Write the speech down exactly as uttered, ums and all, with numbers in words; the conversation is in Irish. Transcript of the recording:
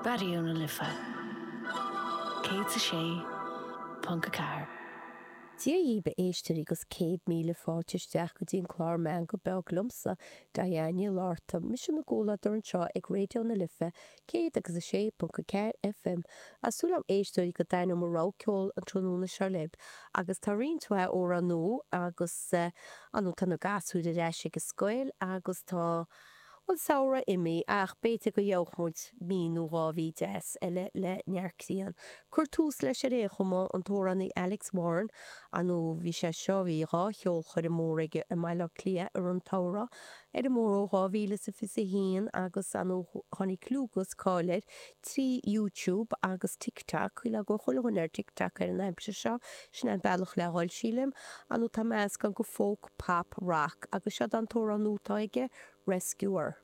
Raidió na Life céad a sé ponc a ceathair. Dia dhaoibh a éisteoirí agus céad míle fáilte isteach go dtí an clár Meangadh Beag liomsa, Diane Ní Fhlatharta, mise ina gcomhluadar anseo ag Raidió na Life céad agus a sé ponc a ceathair FM. Tá súil agam a éisteoirí go dtaitneoidh mo rogha ceoil an tráthnóna seo libh agus tá roinnt mhaith amhrán nua agus ar ndóigh tá na gasúir ar ais ag an scoil agus tá an samhradh imithe ach b'fhéidir go gheobhadh muid mí nó dhá mhí deas eile le neart grian. Cuir tús leis ar aon chuma, an t-amhránaí Alex Warren, ar ndóigh bhí sé seo, bhí dhá cheolchoirm mór aige i mBaile Átha Cliath i rith an tsamhraidh, ar an mbóthar ó dhá mhíle is a fiche a haon agus ar ndóigh tháinig clú agus cáil air trí YouTube agus TikTok, cuimhin go bhfuil chuile dhuine ar TikTok ar an aimsir seo, sin é an bealach le dhul sílim. Ar ndóigh tá meascán de folk, pop, rock agus seo an t-amhrán nua atá aige, Rescuer.